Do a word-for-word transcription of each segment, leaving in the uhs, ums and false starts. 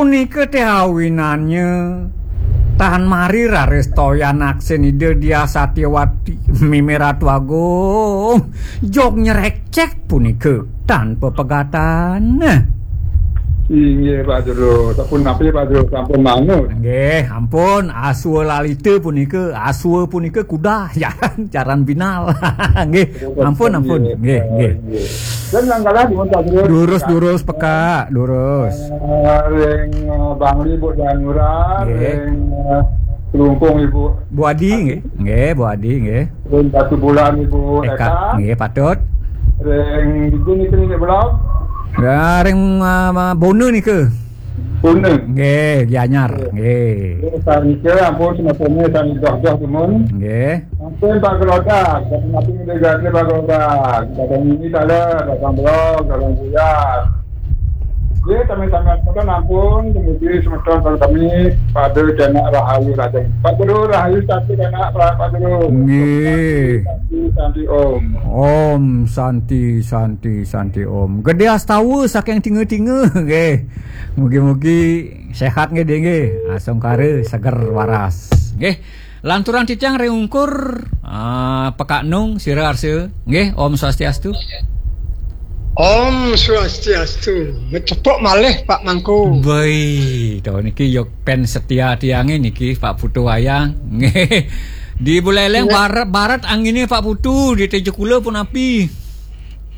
Punika té awinannya tan mari raris toyan aksin Ida Diah Satyawati, mimih Ratu Agung, jog nyrekcek punika tan pepegatan. Inggih, Pak Jero. Sampun napi, Pak Jero? Sampun manut. Nggih, ampun, aswa lalita punika, aswa punika kuda, jaran, jaran binal. Nggih, ampun, ampun. Nggih, nggih. Dan langgalah dipun, Pak Jero. Durus, durus, pekak, durus. Eh, ring, eh, Bangli, Bu Danura, nggih. Ring, eh, Klungkung, Ibu. Bu Adi, nggih. Nggih, Bu Adi, nggih. Ring Batubulan, Ibu Eka, Eka. Nggih, patut. Ring dija niki, niki, Bulog? Ya, ring, ah, ah, Bona nika. Bona. Nggih, Gianyar. Nggih. Nggih. Nggih, sanika ampun semetonnya sami doh-doh dumun. Nggih. Ampun Pak Gerodak, datang napi ngedegaké Pak Gerodak. Datang ini salah, datang Bulog, datang Buyar. Nggih, sami-sami semeton ampun, dumugi semeton sareng sami pada kenak rahayu lajeng. Pak Guru, rahayu santi kenak, Pak, Pak Guru. Nggih. Santi, santi, Om. Om Santi, Santi, Santi, Om. Gedé astawa saking tinga-tinga, nggih. Mugi-mugi sehat nggih, Dé, nggih. Asungkara seger waras. Nggih. Lanturang titiang ring ungkur, ah, Pekak Nung, sira arsa. Nggih, Om Swastiastu. Om Swastiastu. Ngecepok malih, Pak Mangku. Baik, to niki ya pen setia tiangé niki, Pak Putu Wayang. Nggih. Di Buleleng, nggih, barat, barat anginé, Pak Putu, di Tejukula pun api.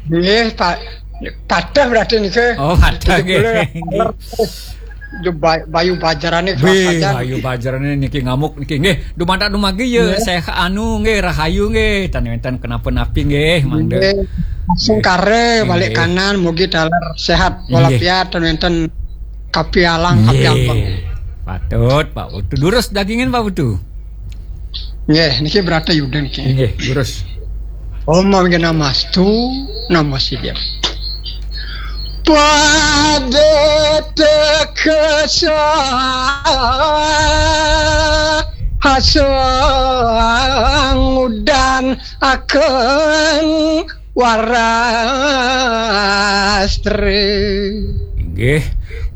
Nggih, Pak. Patah berarti niki. Oh, patah, nggih. Di Buleleng. Yo, ba-, Bayu Bajarané. Wih, Bayu Bajarané niki ngamuk niki. Nggih, dumadak dumargi ya, nggih, sehat anu nggih, rahayu nggih, tan wénten kenapa-napi nggih, mangda. Nggih. Langsung kare balik, nggih, kanan, mugi taler sehat walafiat, tan wénten kapialang, nggih, kapiampeng. Patut, Pak Putu. Durus dagingin, Pak Putu. Nggih, niki berarti Yuda niki. Nggih, durus. Om Awighnamastu, Namo Siddham. Pada teka sahasang udan akan warastre. Inggih,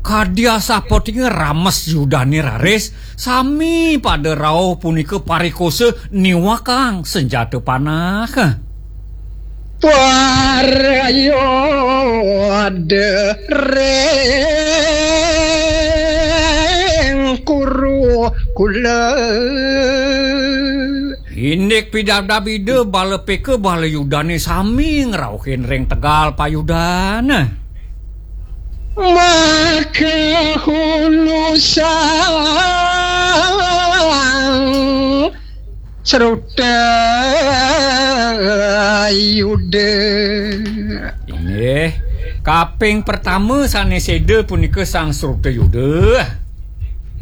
kadi asapunika rames Yudané raris, sami pada rauh punika parikosa niwakang senjata panah. Parayodering Kurukula. Indik pidabdab Ida bala Peka bala Yudané sami ngrauhin ring tegal payudan. Maka hulu sang Sruta Yuda. Inggih, kaping pertama sané séda punika Sang Sruta Yuda.